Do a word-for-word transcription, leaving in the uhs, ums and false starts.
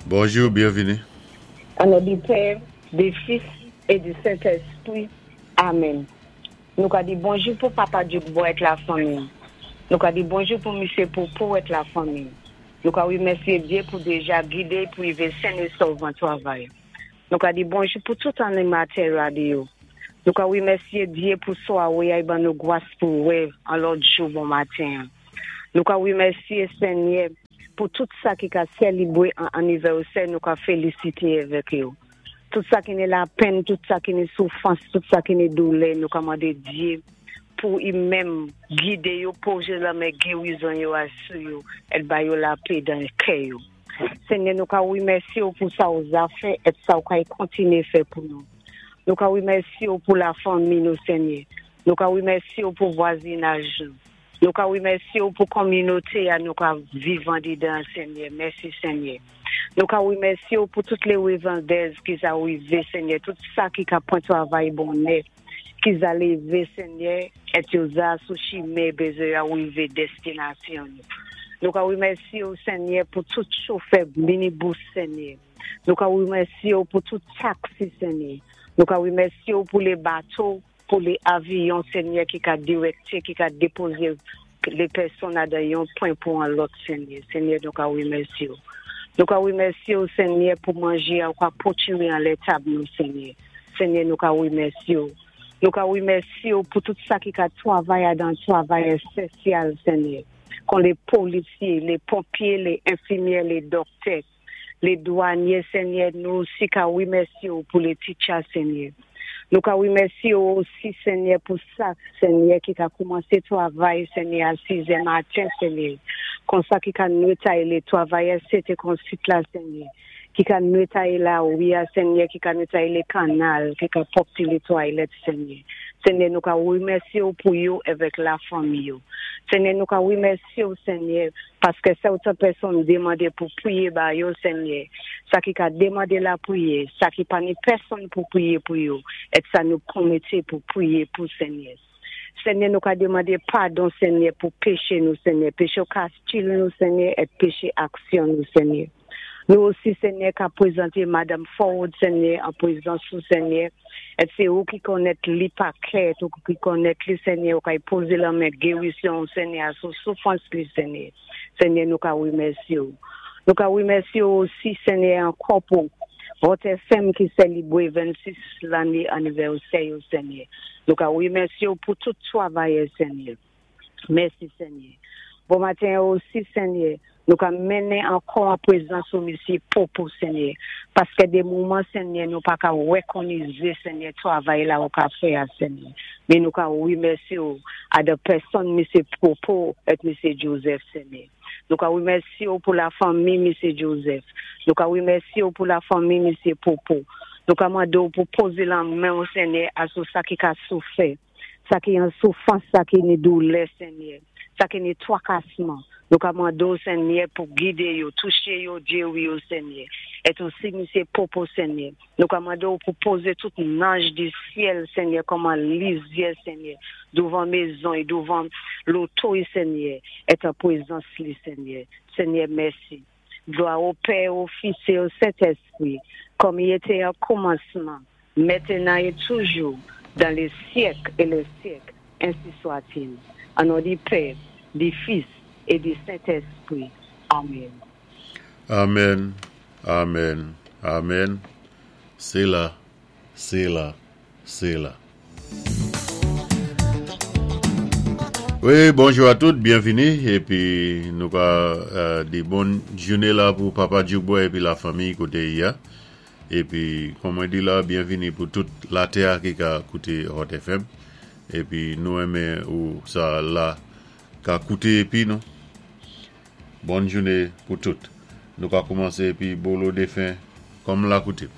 Bonjou, byenvini. Au nom du Père, du Fils et du Saint-Esprit. Amen. Nou ka di bonjou pou Papa Djoukbo èt lafanmi. Nou ka di bonjou pou Misyé Popo èt lafanmi. Nou ka wimèsyé Dye pou déja gidé pou wivé sen é sòv an twavay. Nou ka di bonjou pou tout animatè radyo. Nou ka wimèsyé Dye pou swawé a ban nou gwas pou wè an lòt jou bon maten. Nou ka wimèsyé Senyè pou tout sa ki ka sélébwé an anivèsè, nou ka félisité avèk yo. Tout sa ki ni lapenn, tout sa ki ni soufwans, tout sa ki ni doulè, nou ka mandé Dye pou i menm gidé yo, pozé lamen gérizon yo asou yo, èt ba yo lapè dan kè yo. Senyè, nou ka wimèsyé ou pou sa ou za fè, èt sa ou ka kontiné fè pou nou. Nou ka wimèsyé ou pou lafanmi nou, Senyè. Nou ka wimèsyé ou pou vwazinaj nou. Nou ka wimèsyé ou pou kominoté a nou ka viv andidan, Senyè. Mèsi, Senyè. Nou ka wimèsyé ou pou tout lé revandèz ki za wivé, Senyè, tout sa ki ka pwan twavay bonnè, ki za lévé, Senyè, èt yo za sou chimen bézwen a wivé destinasyon nou. Nou ka wimèsyé ou, Senyè, pou tout chofè minibous, Senyè. Nou ka wimèsyé ou pou tout taksi, Senyè. Nou ka wimèsyé ou pou lé bato, pou lé avyon, Senyè, ki ka direkté, ki ka dépozé lé pèsonn adan yon pwen pou an lòt, Senyè. Senyè, nou ka wimèsyé ou. Nou ka wimèsyé ou, Senyè, pou manjé ou ka pwotire anlè tab nou, Senyè. Senyè, nou ka wimèsyé ou. Nou ka wimèsyé ou pou tout sa ki ka twavay adan twavay ésansyèl, Senyè. Kon lé polisyé, lé ponpyé, lé enfimyè, lé dòktè, lé dwanyé, Senyè, nou osi ka wimèsyé ou pou lé teacher, Senyè. Nou ka wimèsyé ou osi, Senyè, pou sa, Senyè, ki ka koumansé twavay, Senyè, a sizè maten, Senyè. Kon sa ki ka netwayé lé twavayè, sé kon sit la, Senyè. Ki ka netwayé lawi a, Senyè, ki ka netwayé lé kannal, ki ka pwòpté lé twalèt, Senyè. Senyè, nou ka wimèsyé ou pou yo avèk lafanmi yo. Senyè, nou ka wimèsyé ou, Senyè, paské sèten pèsonn demandé pou pwiyé ba yo, Senyè. Sa ki ka demandé lapriyè, sa ki pa ni pèsonn pou pwiyé pou yo, èt sa nou pwomèt pou pwiyé pou Senyè. Senyè, nou ka demandé padon, Senyè, pou péché nou, Senyè, péché kastil nou, Senyè, èt péché aksyon nou, Senyè. Nou osi, Senyè, ka pwézanté Madanm Forward, Senyè, an pwézans ou, Senyè, èt sé ou ki konnèt li pa kè, ou ki konnèt li, Senyè, ou ka pozé lamen gérizon, Senyè, sou soufwans li, Senyè. Senyè, nou ka wimèsyé ou. Nou ka wimèsyé ou osi, Senyè, ankò pou Hot F M ki sélébwé vennsis lanné anivèsè, Senyè. Nou ka wimèsyé ou pou tout twavayè, Senyè. Mèsi, Senyè. Bon maten osi, Senyè, nou ka mennen ankò an pwézans ou Misyé Popo, Senyè. Paské dé moman, Senyè, nou pa ka wékonnizé, Senyè, twavay la ou ka fè a, Senyè. Men nou ka wimèsyé ou adan pèsonn Misyé Popo èt Misyé Joseph, Senyè. Nou ka wimèsyé ou pou lafanmi Misyé Joseph. Nou ka wimèsyé ou pou lafanmi Misyé Popo. Nou ka mandé ou pou pozé lamen ou, Senyè, asou sa ki ka soufè. Sa ki an soufwans, sa ki ni doulè, Senyè. Sa ki ni twakasman. Nou ka mandé ou, Senyè, pou gidé yo, touché yo, géwi yo, Senyè. Èt osi, Misyé Popo, Senyè. Nou ka mandé ou pou pozé tout zanj di syèl, Senyè, kòm an lizyè, Senyè, douvan mézon é douvan loto, Senyè, èt an pwézans li, Senyè. Senyè, mèsi. Glwa o Pè, o Fis é o Sentèspwi, kòm i été o koumansman, mentnan é toujou, dan lé syèk é lé syèk, ensi swa-t-il. An non di Pè, di Fis é di Sentèspwi. Amen. Amen, amen, amen. Séla, séla, séla. Wi, bonjou a tout, byenvini. Épi nou ka euh, di bòn jouné la pou Papa Djoukboy épi lafanmi koté i a. Épi, kòm mwen di la, byenvini pou tout latè ki ka kouté Hot F M. Épi nou renmen ou sa la ka kouté épi nou. Bòn jouné pou tout. Nou ka koumansé épi bolo défen kòm lakoutim.